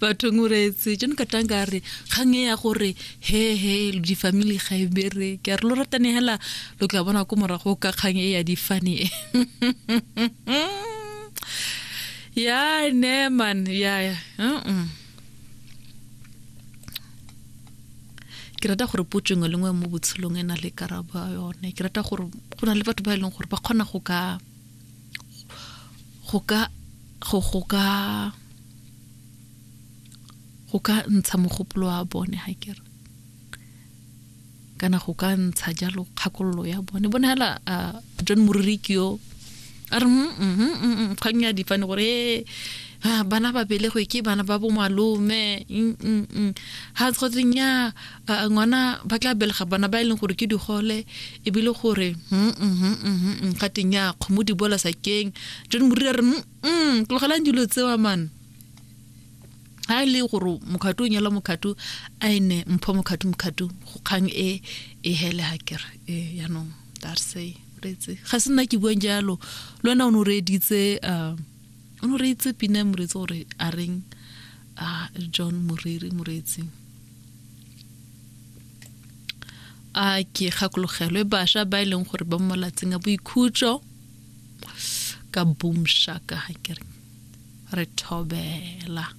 Bathong o reetse John Katanga a re kgang e ya gore he he di-family ga e bereke, a re lo ratane hela lo tla bona ko morago ka kgang e ya difane e. Ya ne man, ya ya. Ke rata gore potso nngwe le nngwe mo botshelong e na le karabo ya yone. Ke rata gore go na le batho ba e leng gore ba kgona go ka go ka go go ka go ka ntsha mogopolo wa bone ha kere kana go ka ntsha jalo kgakololo ya bone. Bone hela John Moriri ke yo a re kgang ya difane gore e bana ba belegwe ke bana ba bo malome, ga go nya ngwana ba tla belega bana ba e leng gore ke digole, ebile gore ga teng ya kgomo di bola sakeng. John Moriri a re tlogelang dilo tsewa man. Ha e le gore mokgatho o nyala mokgatho, a e ne mpho mokgatho mokgatho go kgang e e hele ha kere e yaanong darse reetse ga se nna ke buang jalo. Le wena o ne o reeditse, o ne o reeditse pina ya moreetsi gore a reng a John Moriri moreetsi. A ke gakologelwe bašwa ba e leng gore ba mo malatsing a boikhutso ka boom shaka ha kere re thobela.